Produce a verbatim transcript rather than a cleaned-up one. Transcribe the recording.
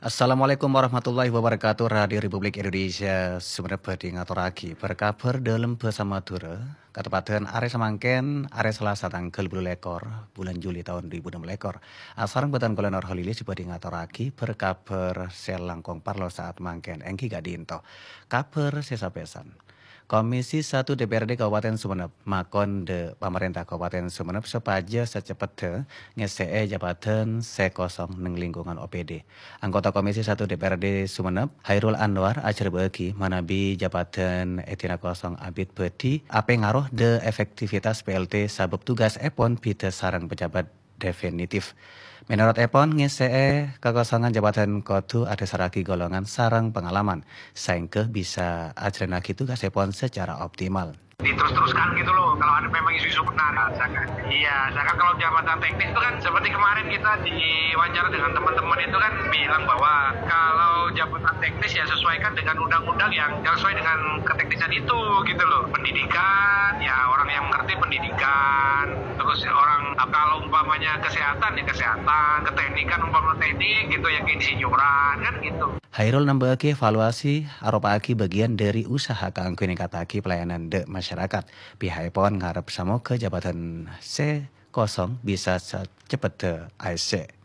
Assalamualaikum warahmatullahi wabarakatuh. Radio Republik Indonesia Sumenep bhâdhi ngatorraghi bâr-kabhâr dâlem bhâsa Madhurâ, kateppadhân arè samangkèn, arè Salasa tangghâl bâllu lèkor bulân Juli taon du èbu ennem lèkor. Asareng bhâdhân kaulâ Nur Holili sè bhâdhi ngatorraghi bâr-kabhâr sè langkong parlo saat mangkèn, èngghi ka'dinto. Kabhâr sè sapèsan. Komisi satu D P R D Kabupaten Sumenep makon dâ' pamarènta Kabupaten Sumenep sopajâ saceppetta ngèssè'è jabâdhân sè kosong neng lingkungan O P D. Anggota Komisi satu D P R D Sumenep, Hairul Anwar, ajhârbâ'âghi manabi jabâdhân èdina kosong abit bhâdhi apèngaroh dâ' efektivitas P L T sabâb tugasèpon bhidhâ sareng pejabat definitif. Mènorot èpon, ngèssè'è kakosongan jabâdhân kodhu adhâsarraghi golongan sareng pangalaman, saèngghâ bisa ajhâlannaghi tugasèpon sacara optimal. Diterus-teruskan gitu loh, kalau ada memang isu-isu benar. Iya, misalkan kalau jabatan teknis itu kan seperti kemarin kita diwawancara dengan teman-teman itu kan bilang bahwa kalau jabatan teknis ya sesuaikan dengan undang-undang yang, yang sesuai dengan keteknisan itu gitu loh. Pendidikan, ya orang yang mengerti pendidikan, terus orang, kalau umpamanya kesehatan ya kesehatan, keteknikan umpama teknik gitu ya keinsinyuran kan gitu. Hairul nambâ'âghi evaluasi aropa'aghi bâgiyân dâri usaha kaangghuy ningkattaghi pelayanan dâ' masyarakat. Piha'èpon ngarep samoghâ jabâdhân sè kosong bisa saceppetta aèssè.